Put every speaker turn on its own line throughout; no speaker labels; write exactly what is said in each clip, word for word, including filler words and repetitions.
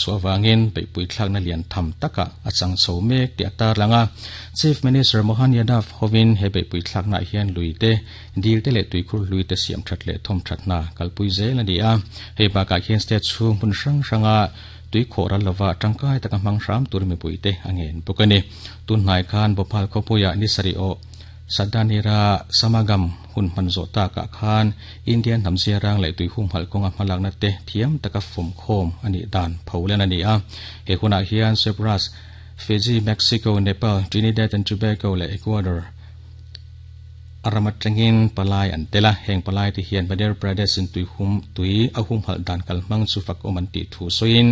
Chuawangin beihpui thlakna lian tham taka a chang chho mek tih a tarlang a. Chief Minister Mohan Yadav hovin he beihpui thlakna hian luite dil te leh tuikhur luite siam that leh thawm thatna kalpui zel ani a. Hei bakah hian state chhung hmun hrang hranga tui khawh ral lova tangkai taka hmang hram tur mipuite a ngen bawk ani. Tun hnai khan Bhopal khawpuia ni sarih aw Sadanira Samagam hun hman zawh takah khan Indian hnam ziarang leh tui humhalh kawnga hmalakna te thiam taka fawm khawm ani dan pholen ani a. He hunah hian Cyprus, Fiji, Mexico, Nepal, Trinidad and Tobago leh Ecuador arama tangin palai an tela. Heng palai te hian Madhya Pradesh in tui hum tui a humhalh dan kal hmang chu fak awm an tih thu sawiin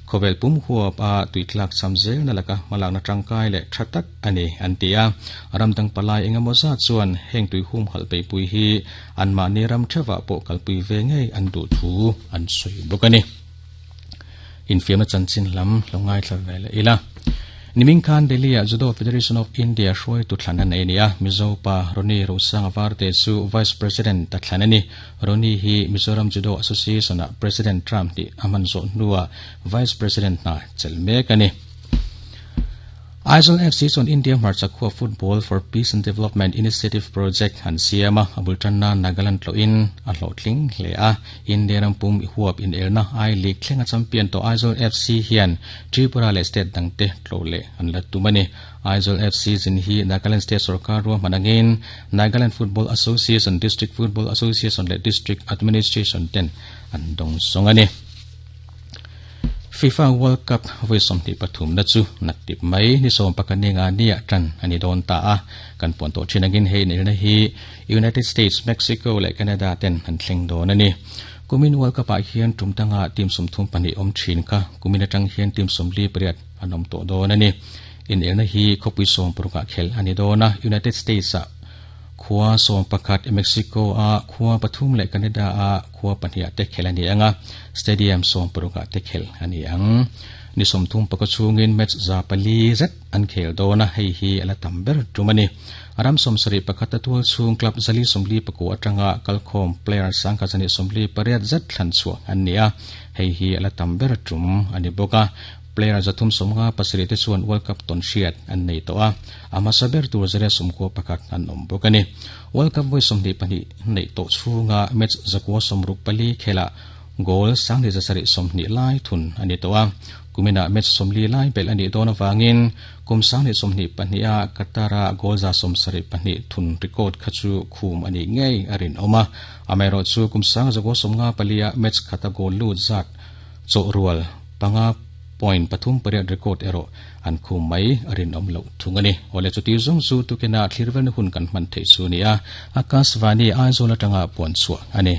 khawvel pum huap a tui tlak cham zel na laka hmalakna tangkai leh tha tak ani an ti a. Ramdang palai engemaw zat chuan heng tui humhalh beihpui hi an mahni ram theuhah pawh kalpui ve ngei an duh thu an sawi bawk ani. Infiamna chanchin lam lo ngaithla ve leh ila. Niming khan Delhi a Judo Federation of India hruai tu thlan an nei ani a. Mizo pa Roni Rosanga Varte chu Vice President ta thlan ani. Roni hi Mizoram Judo Association a President Trump ti aman zawh hnuah Vice President hna chelh mek ani. Aizawl F C chuan India hmarcha khua Football for Peace and Development Initiative Project an siam a. A bul tanna Nagaland tlawhin a hlawhtling hle a. India ram pum huap in elna I League thlenga champion to Aizawl F C hian Tripura leh state dangte tlo leh an la tum ani. Aizawl F C zin hi Nagaland State Sarkar ruahman angin Nagaland Football Association, District Football Association leh District Administration ten an dawng sawng ani. FIFA World Cup voi sawmhnih pathum na chu naktip mai ni sawm pakhat nga nia tan ani dawn ta a. Kan puan tawh thin angin hei nelna hi United States, Mexico leh Canada ten an thleng dawn ani. Kumin World Cup ah hian tum tanga team sawmthum pahnih awm thin kha kumin atang hian team sawmli pariat an awm tawh dawn ani. In elna hi khawpui sawm parukah khel ani dawn a. United States ah khua sawm pakhat, Mexico a khua pathum leh Canada a khua pahnih te khel ani anga. Stadium sawm parukah te khel ani ang. Ni sawmthum paka chungin match za pali zet an khel dawn a. Hei hi ala tam ber tum ani. Aram sawmsarih pakhat a tual chhung club zali sawmli pakua atanga kalkhawm player sangkha zani sawmli pariat zet thlan chhuah an ni a. Hei hi ala tam ber tum ani bawk a. Player zathum sawmnga pasarih te chuan World Cup tawn hriat an nei tawh a. A hmasa ber tur zariat sawmkua pakhat an awm bawk ani. World Cup voi sawmhnih pahnih nei tawh chhunga match zakua sawmruk pali khela goal sanghnih zasarih sawmhnih lai thun ani tawh a. Kumina match sawmli lai bel ani dawn awangin kum sanghnih sawmhnih pahnih a Qatar-a goal za sawmsarih pahnih thun record kha chu khum ani ngei a rin awm a. Amaherawh chu kum sang zakua sawmnga palia match khata goal lut zat chawh rual panga point pathum pariat record erawh an khum mai a rin awm loh thung ani. Awle chuti zawng chu tukina thlirvelna hun kan hman theih chu ni a. Akashvani Aizawl atanga puan chhuah ani.